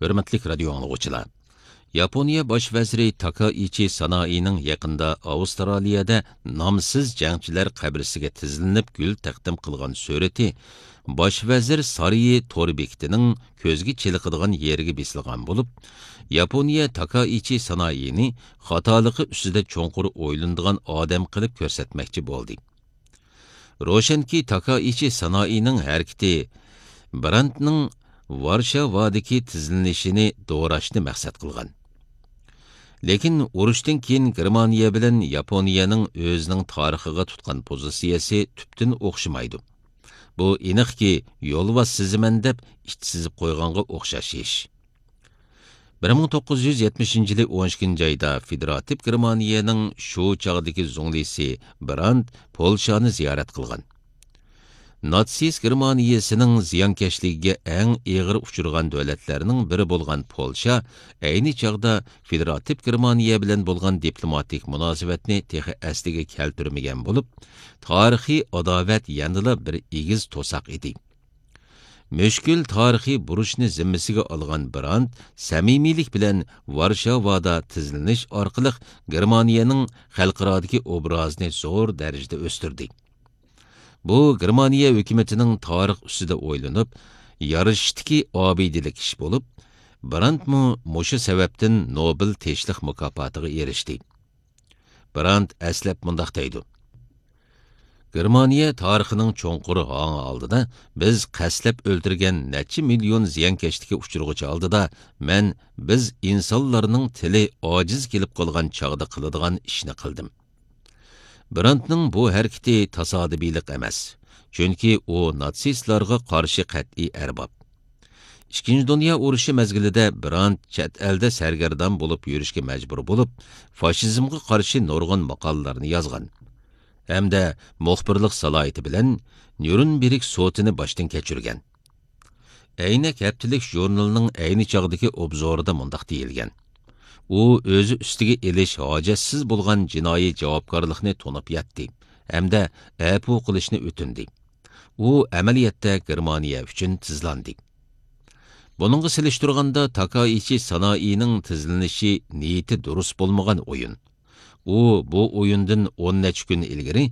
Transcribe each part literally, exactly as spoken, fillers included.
ھۆرمەتلىك رادىيو ئاڭلىغۇچىلار! ياپونىيە باش ۋەزىرى تاكائىچى سانائىنىڭ يېقىندا ئاۋسترالىيەدە نامسىز جەڭچىلەر قەبرىسىگە تىزلىنىپ گۈل تەقدىم قىلغان سۈرىتى باش ۋەزىر سارىيى تور بېكىتىنىڭ كۆزگە چېلىقىدىغان يېرىگە بېسىلغان بولۇپ، ياپونىيە تاكائىچى سانائىنى خاتالىقى ئۈستىدە چوڭقۇر ئويلىنىدىغان ئادەم قىلىپ كۆرسەتمەكچى بولدى. روشەنكى، تاكائىچى سانائىنىڭ ھەرىكىتى براندتنىڭ ۋارشاۋادىكى تىزلىنىشىنى دوراشنى مەقسەت قىلغان. لېكىن ئۇرۇشتىن كېيىن گېرمانىيە بىلەن ياپونىيەنىڭ ئۆزىنىڭ تارىخىغا تۇتقان پوزىتسىيەسى تۈپتىن ئوخشىمايدۇ. بۇ ئېنىقكى، يولۋاس سىزىمەن دەپ ئىت سىزىپ قويغانغا ئوخشاش ئىش. بىر مىڭ توققۇز يۈز يەتمىشىنچى يىلى ئون ئىككىنچى ئايدا فېدېراتىپ گېرمانىيەنىڭ شۇ چاغدىكى زۇڭلىسى براند پولشانى زىيارەت قىلغان. ناتسىست گېرمانىيەسىنىڭ زىيانكەشلىكىگە ئەڭ ئېغىر ئۇچرىغان دۆلەتلەرنىڭ بىرى بولغان پولشا ئەينى چاغدا فېدېراتىپ گېرمانىيە بىلەن بولغان دىپلوماتىك مۇناسىۋەتنى تېخى ئەسلىگە كەلتۈرمىگەن بولۇپ، تارىخىي ئاداۋەت يەنىلا بىر ئېگىز توساق ئىدى. مۈشكۈل تارىخىي بۇرچنى زىممىسىگە ئالغان براند سەمىمىيلىك بىلەن ۋارشاۋادا تىزلىنىش ئارقىلىق گېرمانىيەنىڭ خەلقئارادىكى ئوبرازىنى زور دەرىجىدە ئۆستۈردى. بۇ گېرمانىيە ھۆكۈمىتىنىڭ تارىخ ئۈستىدە ئويلىنىپ، يارىشىشتىكى ئابىدىلىك ئىش بولۇپ، براندمۇ مۇشۇ سەۋەبتىن نوبېل تىنچلىق مۇكاپاتىغا ئېرىشتى. براند ئەسلەپ مۇنداق دەيدۇ: گېرمانىيە تارىخىنىڭ چوڭقۇر ھاڭى ئالدىدا، بىز قەستلەپ ئۆلتۈرگەن نەچچە مىليون زىيانكەشلىككە ئۇچرىغۇچى ئالدىدا، مەن بىز ئىنسانلارنىڭ تىلى ئاجىز كېلىپ قالغان چاغدا قىلىدىغان ئىشنى قىلدىم. براندنىڭ بۇ ھەرىكىتى تاسادىپىيلىق ئەمەس، چۈنكى ئۇ ناتسىستلارغا قارشى قەتئىي ئەرباب. ئىككىنچى دۇنيا ئۇرۇشى مەزگىلىدە براند چەت ئەلدە سەرگەردان بولۇپ يۈرۈشكە مەجبۇر بولۇپ، فاشىزمغا قارشى نۇرغۇن ماقالىلەرنى يازغان ھەمدە مۇخبىرلىق سالاھىيىتى بىلەن نيۇرنبېرگ سوتىنى باشتىن كەچۈرگەن. ئەينەك ھەپتىلىك ژۇرنىلىنىڭ ئەينى چاغدىكى ئوبزورىدا مۇنداق دېيىلگەن: ئۇ ئۆزى ئۈستىگە ئېلىش ھاجەتسىز بولغان جىنايى جاۋابكارلىقنى تونۇپ يەتتى ھەمدە ئەپۇ قىلىشنى ئۆتۈندى. ئۇ ئەمەلىيەتتە گېرمانىيە ئۈچۈن تىزلاندى. بۇنىڭغا سېلىشتۇرغاندا، تاكائىچى سانائىنىڭ تىزلىنىشى نىيىتى دۇرۇس بولمىغان ئويۇن. ئۇ بۇ ئويۇندىن ئون نەچچە كۈن ئىلگىرى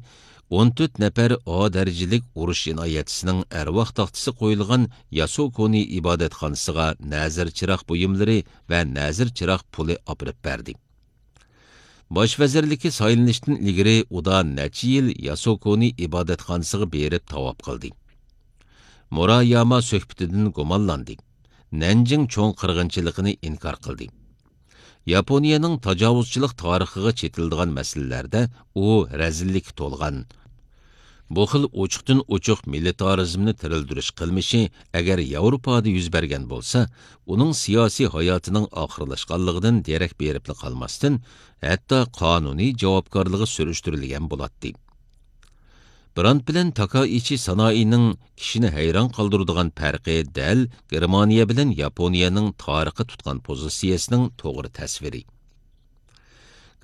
ئون تۆت نەپەر ئا دەرىجىلىك ئۇرۇش جىنايەتچىسىنىڭ ئەرۋاھ تاختىسى قويۇلغان ياسۇكونى ئىبادەتخانىسىغا نەزىر چىراغ بۇيۇملىرى ۋە نەزىر چىراغ پۇلى ئاپىرىپ بەردى. باش ۋەزىرلىككە سايلىنىشتىن ئىلگىرى ئۇدا نەچچە يىل ياسۇكونى ئىبادەتخانىسىغا بېرىپ تاۋاپ قىلدى. مۇراياما سۆھبىتىدىن گۇمانلاندى. نەنجىڭ چوڭ قىرغىنچىلىقىنى ئىنكار قىلدى. ياپونىيەنىڭ تاجاۋۇزچىلىق تارىخىغا چېتىلىدىغان مەسىلىلەردە ئۇ رەزىللىككە تولغان. بۇ خىل ئوچۇقتىن ئوچۇق مىلىتارىزمنى تىرىلدۈرۈش قىلمىشى ئەگەر ياۋروپادا يۈز بەرگەن بولسا، ئۇنىڭ سىياسىي ھاياتىنىڭ ئاخىرلاشقانلىقىدىن دېرەك بېرىپلا قالماستىن، ھەتتا قانۇنىي جاۋابكارلىقى سۈرۈشتۈرۈلگەن بولاتتى. براند بىلەن تاكائىچى سانائىنىڭ كىشىنى ھەيران قالدۇرىدىغان پەرقى دەل گېرمانىيە بىلەن ياپونىيەنىڭ تارىخقا تۇتقان پوزىتسىيەسىنىڭ توغرا تەسۋىرى.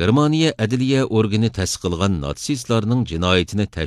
گېرمانىيە ئەدلىيە ئورگىنى تەستىقلىغان ناتسىستلارنىڭ جىنايىتىنى تەش-